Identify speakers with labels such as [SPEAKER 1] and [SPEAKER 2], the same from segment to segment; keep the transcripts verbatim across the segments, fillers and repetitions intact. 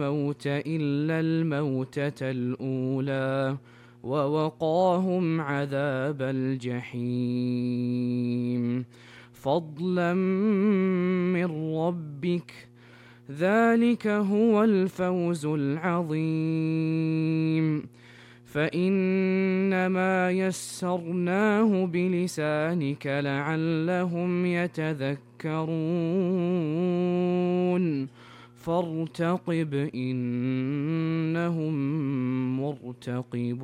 [SPEAKER 1] الموت إلا الموتة الأولى ووقاهم عذاب الجحيم فضلا من ربك ذلك هو الفوز العظيم فإنما يسرناه بلسانك لعلهم يتذكرون فارتقب إنهم مرتقبون.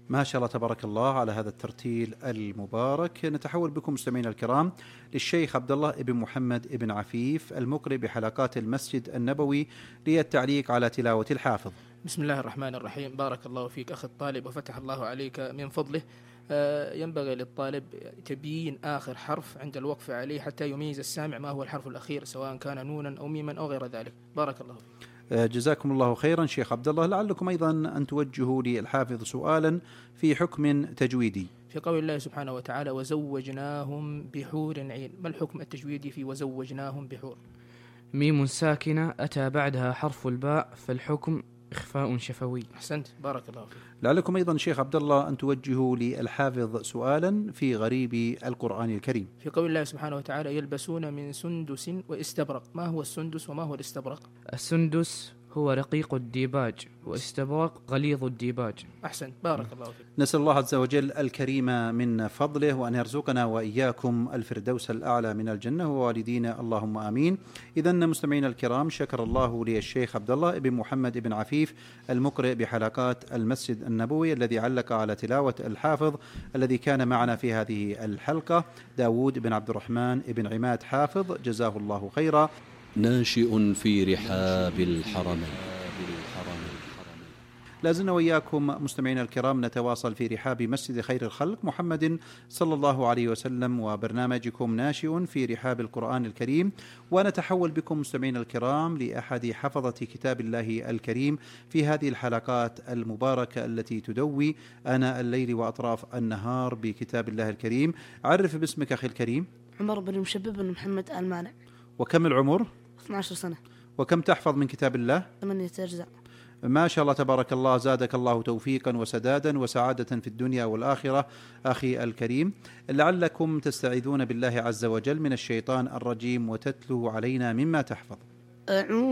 [SPEAKER 2] ما شاء الله تبارك الله على هذا الترتيل المبارك. نتحول بكم مستمعينا الكرام للشيخ عبد الله بن محمد بن عفيف المقرئ بحلقات المسجد النبوي للتعليق على تلاوة الحافظ.
[SPEAKER 3] بسم الله الرحمن الرحيم. بارك الله فيك أخي الطالب وفتح الله عليك من فضله. ينبغي للطالب تبيين آخر حرف عند الوقف عليه حتى يميز السامع ما هو الحرف الأخير سواء كان نونا أو ميما أو غير ذلك. بارك الله فيك.
[SPEAKER 2] جزاكم الله خيرا شيخ عبد الله. لعلكم أيضا أن توجهوا للحافظ سؤالا في حكم تجويدي
[SPEAKER 3] في قول الله سبحانه وتعالى وزوجناهم بحور عين. ما الحكم التجويدي في وزوجناهم بحور؟
[SPEAKER 1] ميم ساكنة أتى بعدها حرف الباء فالحكم إخفاء شفوي.
[SPEAKER 3] أحسنت بارك الله فيك.
[SPEAKER 2] لعلكم أيضا شيخ عبد الله أن توجهوا للحافظ سؤالا في غريب القرآن الكريم
[SPEAKER 3] في قول الله سبحانه وتعالى يلبسون من سندس واستبرق. ما هو السندس وما هو الاستبرق؟
[SPEAKER 1] السندس هو رقيق الديباج واستبرق غليظ الديباج.
[SPEAKER 3] أحسن بارك الله فيك.
[SPEAKER 2] نسأل الله عز وجل الكريم من فضله وأن يرزقنا وإياكم الفردوس الأعلى من الجنة ووالدينا اللهم آمين. إذن مستمعين الكرام شكر الله للشيخ عبد الله بن محمد بن عفيف المقرئ بحلقات المسجد النبوي الذي علق على تلاوة الحافظ الذي كان معنا في هذه الحلقة داود بن عبد الرحمن بن عماد حافظ جزاه الله خيرا.
[SPEAKER 4] ناشئ في رحاب الحرمين.
[SPEAKER 2] لازلنا وإياكم مستمعين الكرام نتواصل في رحاب مسجد خير الخلق محمد صلى الله عليه وسلم وبرنامجكم ناشئ في رحاب القرآن الكريم. ونتحول بكم مستمعين الكرام لأحد حفظة كتاب الله الكريم في هذه الحلقات المباركة التي تدوي آناء الليل وأطراف النهار بكتاب الله الكريم. عرف باسمك أخي الكريم.
[SPEAKER 5] عمر بن مشبب بن محمد آل مانع.
[SPEAKER 2] وكم العمر؟
[SPEAKER 5] اثنتي عشرة سنة.
[SPEAKER 2] وكم تحفظ من كتاب الله؟
[SPEAKER 5] ثمانية أجزاء.
[SPEAKER 2] ما شاء الله تبارك الله. زادك الله توفيقا وسدادا وسعادة في الدنيا والآخرة أخي الكريم. لعلكم تستعيذون بالله عز وجل من الشيطان الرجيم وتتلو علينا مما تحفظ.
[SPEAKER 5] أعوذ